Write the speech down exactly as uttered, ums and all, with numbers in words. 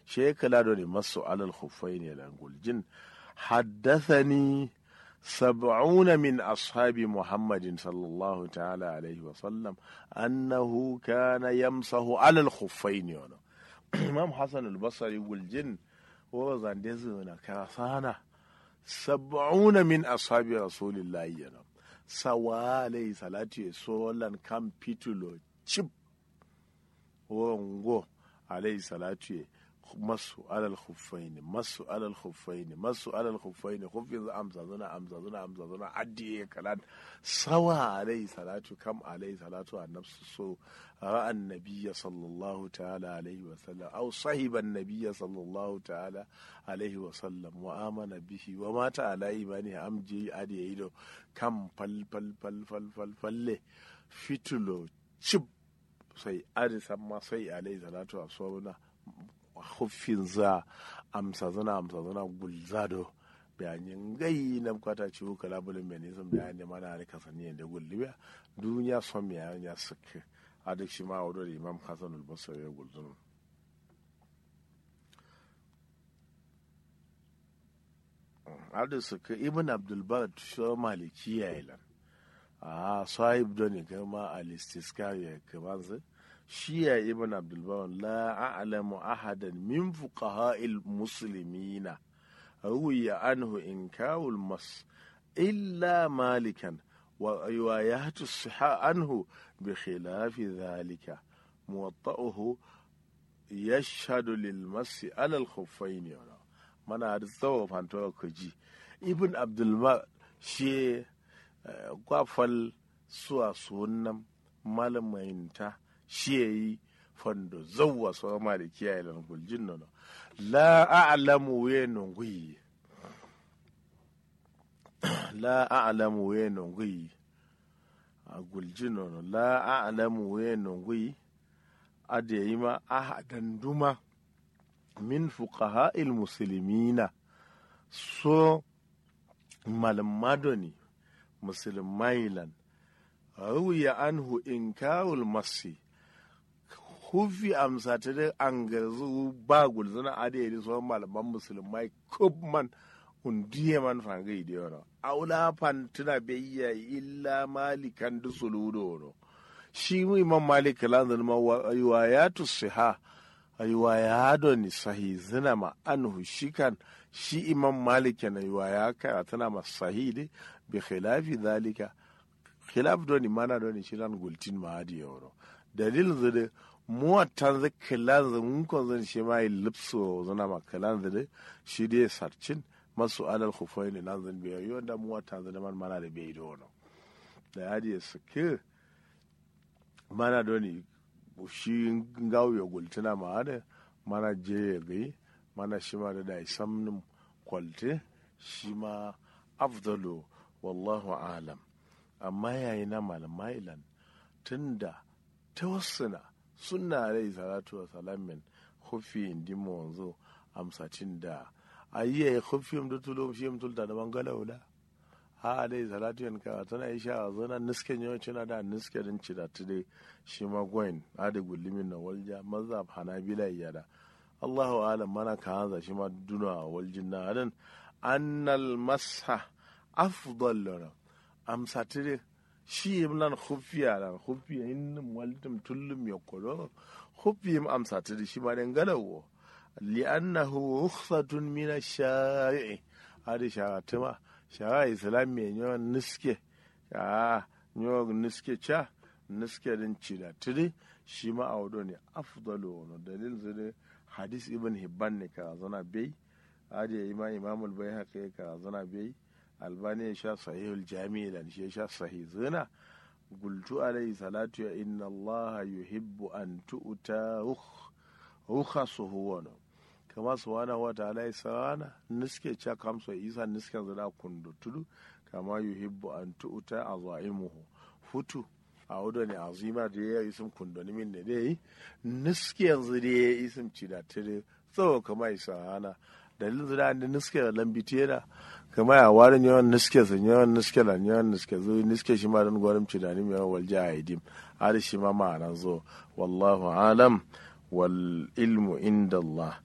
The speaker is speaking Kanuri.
She kǝla done masu alal khuffaini lan guljin. Haddathani sab'una min ashabi muhammadin sallallahu ta'ala alaihi wa sallam annahu kana yamsahu alal khuffaini wono. Imam hasan al-basri guljin wuro zande zǝna kasana sab'una min ashabi rasulillahi yana sawa alaihi salatu ye solan kam fitulo cip. Wuro ngo alaihi salatu ye masu alal khuffaini masu alal khuffaini masu alal khuffaini khuffin zǝ amsa zǝna amsa zǝna amsa zǝna addiye kalan sawa alaihi salatu kam alaihi salatu annabsu so ra'a annabiyya sallallahu ta'ala alaihi wa sallam aw sahiba annabiyya sallallahu ta'ala alaihi wa sallam wa amana bihi wa mata ala imani am je addiye ido kam fal fal fal fal fal falle fitulo cip. Sai adǝ samma sai alaihi salatu wa sona huffinzǝa amsazǝna amsazǝna gulza do. Biya nyi ngai nabkata ciwu kǝla bǝlǝm be nisǝm biya nyi mana adǝ kasani yende gulli biya duniya som yayi nya sǝkkǝ. Adǝ shima awo do dǝ imam hasanul basri ye gulzǝnum. Adǝ sǝkkǝ ibn abdulbar sho malikiya ye lan. Ahh sahib done kǝma al-istiskar ye kǝmanzǝ. Shi yayi ibn abdulbar la a'lamu ahadan min fuqaha'il muslimina ruwiya anhu inkarul mas illa malikan wa riwayatu siha anhu bi khilafi dhalika. Muwatta'uhu yashhadu lil masi alal khuffaini yono. Mana adǝ zawo fanto kǝji ibn abdulbar shiye. Kwa fal suwa suwunnam malamainta shiye yi fando zawwa soro malikiya ye lan guljin nono. La a'lamu wuye nonguyi. La a'lamu wuye nonguyi. Guljin nono la a'lamu wuye nonguyi. Adǝ yayi ma ahadan duma min fuqaha'il muslimina so malǝmma done musǝlǝmmai lan. Ruwiya anhu inkarul masi. Huffi amsatǝ dǝ angarzǝ wu ba gulzǝna adǝ ye dǝ soro malǝmman musǝlǝmmai kǝbman. Unduye man fangai dǝ yono awo la fantǝna baiya illa malikan dǝ suluwu do wono. Shi imam malik kǝlanzǝ dǝma wa riwayatu siha. Riwaya done sahizǝna ma anhu shikan. Shi imam malik kena riwaya karatǝna ma sahi dǝ. Bi khilafi dhalika. Khilaf done mana done shilan gultin ma adǝ ye wono. Dalilnzǝ dǝ muwattanzǝ kǝlanzǝ ngunkonzǝn shima ye lǝpsǝ wozǝna ma kǝlanzǝ dǝ. Shi dǝ ye sarcin masu alal khuffaini lanzǝn beyo yo nda muwattanzǝ dǝ man mana dǝ beyi dǝ wono. Dayi adǝ ye sǝkkǝ. Mana done shi ngawu ye gultǝna ma adǝ mana je ye gai. Mana shima dǝ dayi samnǝm koltǝ shima afdalu. Wallahu a'lam. Amma yayi na malǝmma ye lan tunda tawassǝna sunna alaihi salatu wa salam men huffi indi monzo amsatin da. Ayi yayi huffi yim dǝ tulum shi yim tulta dǝ mangala wula. Ahh alaihi salatu yen karatǝna isha azǝna nǝske nyo cina da nǝske dǝn cidattǝ dǝ. Shima goyin adǝ gullumin no walja mazhab hanabila ye yada. Allahu a'lam mana kawanza shima duno a waljin na adǝn annal masha afdal lono. Amsattǝ dǝ shi yim lan huffiya lan huffiya yinnǝm waltǝm tullum yokko do. Huffi yim amsattǝ dǝ shima dai ngalawo. Li'annahu rukhsatun mina shari'i. Adǝ sharattǝma shara islammiye nyo nǝske. Ahh nyo nǝske ca nǝske dǝn cidattǝ dǝ. Shima awo done afdalu wono dalilnzǝ dǝ hadis ibn hibban ne karazana bei. Adǝ yayi ma imamul baihaqi ye karazana bei. Albani ye sha sahihul jami'i lan shi ye sha sahizǝna. Gultu alaihi salatu ya innallaha yuhibbu an tu'ta rukhasuhu wono. Kama subhanahu wa ta'ala ye sarana nǝske ca kamso isa nǝskenzǝ da kundo tudu. Kama yuhibbu an tu'ta azaimuhu futu. Awo done azima dǝ ye isǝm kundonǝmin ne dǝ yayi. Nǝskenzǝ dǝ ye isǝm cidattǝ dǝ. Tsawo kǝma isahana dalilnzǝ da ande nǝske da lambitiyena. Kǝma ya wari nyoyon nǝske sǝ nyoyon nǝske da nyoyon nǝske zǝ nǝske shima dǝn gonǝm cidanǝm yoyon walja aidim. Adǝ shima ma'ananzǝ wo. Wallahu a'lam. Wal ilmu indallah.